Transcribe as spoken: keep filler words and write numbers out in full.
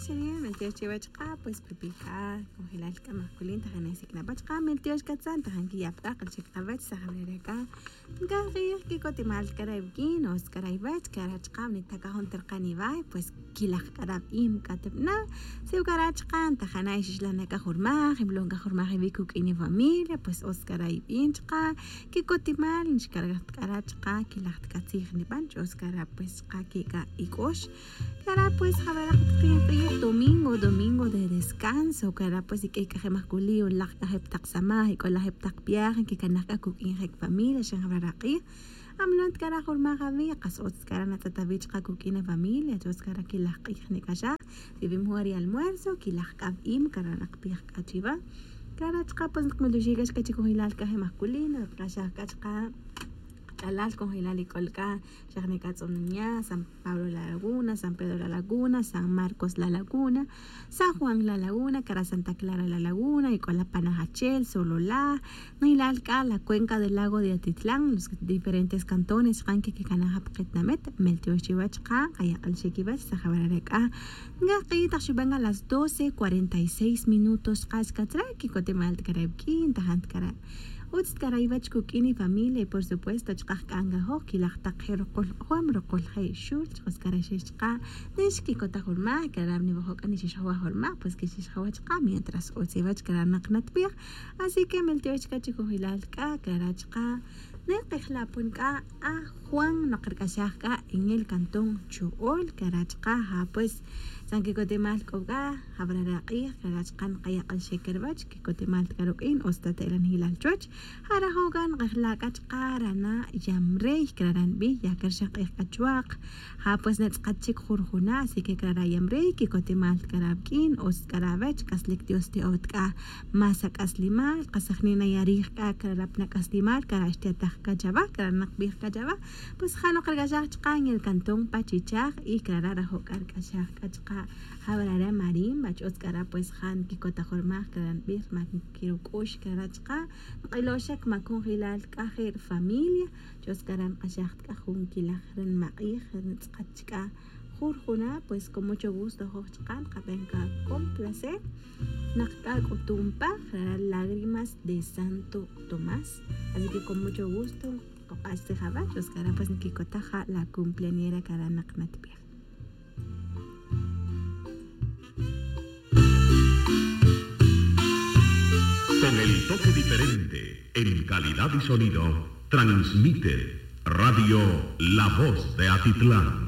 Chiri' meltiox chiwech qa pues pipija. Conjelal k'a majkulin tajan esik' na pach qa meltiox katzan tajan kiyap k'a q'alchik qawech sajaw rere k'a. Nkaj q'ij kik'otimal k'a ra' wik'in o sk'a ra' iwech k'a ra' chqa' winitak k'a jun terqan iway pues kilaj k'a ra' wik'in k'a tib'ana'. Si k'a ra' chqa' ntajana' ixixlan na k'a jurmaj imlon k'a jurmaj iwi' kuk'in ifamilia pues o sk'a ra' ib'in chqa'. Kik'otimal nxkargaj ta k'a ra' chqa' kilaj ta k'a tzij nib'an ch'o sk'a ra' pues chqa' kik'a ik'ox. K'a ra' pues jawaraq taqin q'ij domingo domingo de descanso k'a ra' pues ik'ey k'a je' majkuli' o laq k'a je' pa taq samaj ik'o laj je' pa taq viaje nkikanaj k'a kuk'in je' kifamilia xan jawaraq q'ij. Amlon ta k'a ra' jurmaj awi' qas otz k'a ra' natz'et awi' chqa' kuk'in afamilia ch'o sk'a ra' kilaj q'ij nik'axaj. Tiwim jun ri almuerzo kilaj k'a wib'im k'a ra' naqpij k'a chiwa. K'a ra' chqa' pues naqmultuxik k'a chik conjelal k'a je' majkuli' naqk'axaj k'a chqa' qach'alal conjelal ik'ol k'a xa jnik'a tz'ononya san pablo la laguna san pedro la laguna san marcos la laguna, san juan la laguna k'a ra' santa clara la laguna ik'o la panajachel solola. Nilal k'a la cuenca del lago de atitlán los diferentes cantones chqa' nkikikanaj ap qetinamit. Meltiox chiwech chqa' qayak'al xik iwech sajaw rere k'a. Nkaj q'ij taq xub'an a las doce cuarenta y seis minutos chqa' xkach re' kikotemal ta k'a re' wik'in tajant k'a re'. Utz ta k'a ra' iwech kuk'in ifamilia y por supuesto chqa' jk'an k'a joj kilaj taq je' ruqul q'ojom ruqul je' xul chqa' sk'a re' xex chqa'. Nix kikotaj jurmaj k'a ra' niwojok k'a nixix jawaj jurmaj pues kixix jawaj chqa' mientras utz iwech k'a ra' naq natb'ij. Así que meltiox chqa' chikojilal k'a k'a ra' chqa'. Nekejlapon k'a a juan noq rik'axaj k'a en el cantón chu'ol k'a ra' chqa' ja pues. San kikotemal k'o k'a jawara' re' q'ij k'a ra' chqa' nqayak'al xek ruwech kikotemal ta k'a ruk'in o sta ta elanjilal chuwech. Ja rajo' k'a nqejla' k'a chqa' ra' na yamrey k'a ra' ra' nb'ij ya k'a rixan q'ij k'a chuwaq. Ja pues natz'aqat chik jurjuna' así que k'a ra' ra' yamrey kikotemal ta k'a ra' wik'in o sta k'a ra' wech k'aslik dios ti'ot k'a. Más ak'aslimal qasajni' nayarij k'a k'a ra' ra' pan ak'aslimal k'a ra' xtiataj k'a chawa k'a ra' naqb'ij k'a chawa. Pues ja noq rik'axaj chqa' en el cantón pachichaj y k'a ra' ra' rajo' k'a rik'axaj k'a chqa'. Jawara' re' marimba ch'o sta k'a ra' pues ja nkikotaj jurmaj k'a ra' nb'ij rma nkiruk'ux k'a ra' chqa'. Nq'iloxek ma conjelal k'a je' rifamilia ch'o sta k'a ra' nq'axaj ta k'a jun kilaj re' nimaq'ij re' nitz'aqat chk'a. Jurjuna' pues con mucho gusto joj chqa' nqab'en k'a con placer. Naq k'a k'utum pa jara' lágrimas de santo tomás. Así que con mucho gusto. Qoq'ax tzij awach o sk'a ra' pues nkikotaj ja la cumpleañera k'a ra' naq natb'ij. Con el toque diferente en calidad y sonido transmite Radio La Voz de Atitlán.